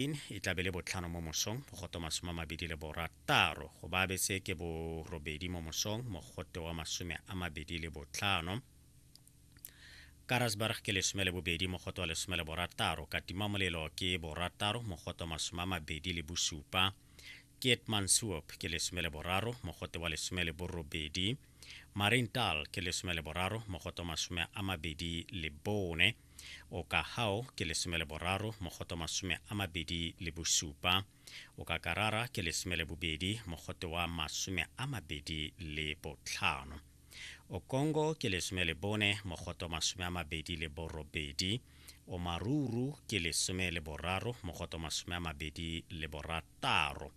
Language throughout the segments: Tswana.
E tla be le botlhano mo mosong, mogote wa 26. Go Baabetse ke borobedi mo mosong, mogote wa 25. Karasburg ke 12, mogote wa 16. Katima Molelo ke borataro, mogote wa 27. Keetmanshoop ke 13, mogote wa 18. Mariental ke 13, mogote wa 24. Okahao ke 13, mogote wa 27. Okakarara ke 12, mogote wa 25. Okongo ke 14, mogote wa 28. Omaruru ke 13, mogote wa 26.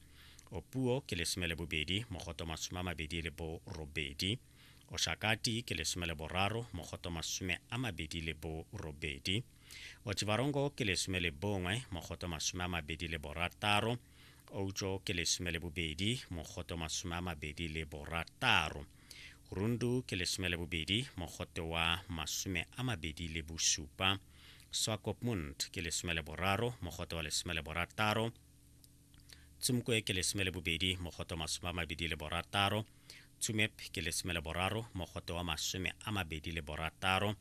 Opuwo ke 12, mogote wa 28. Oshakati ke 13, mogote wa 28. Otjiwarongo ke 11, mogote wa 26. Outjo ke 12, mogote wa 26. Rundu ke 12, mogote wa 27. Swakopmund ke 13, mogote wa 16. Tsumkwe ke 12, mogote wa 26. Tsumeb ke 13, mogote wa 26.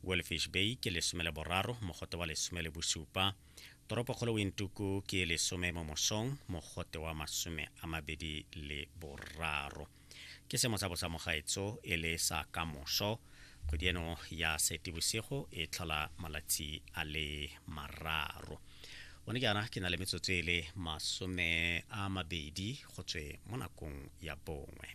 Walvis Bay ke 13, mogote wa 17. Toropokgolo Windhoek ke 10 mo mosong, mogote wa 23. Ke seemo sa bosa mogaetso e le sa kamoso. Kgwedi eno ya Seetebosigo e tlhola malatsi a le mararo. Gone jaana ke na le metsotso e le 20 go tswe mo nakong ya bongwe.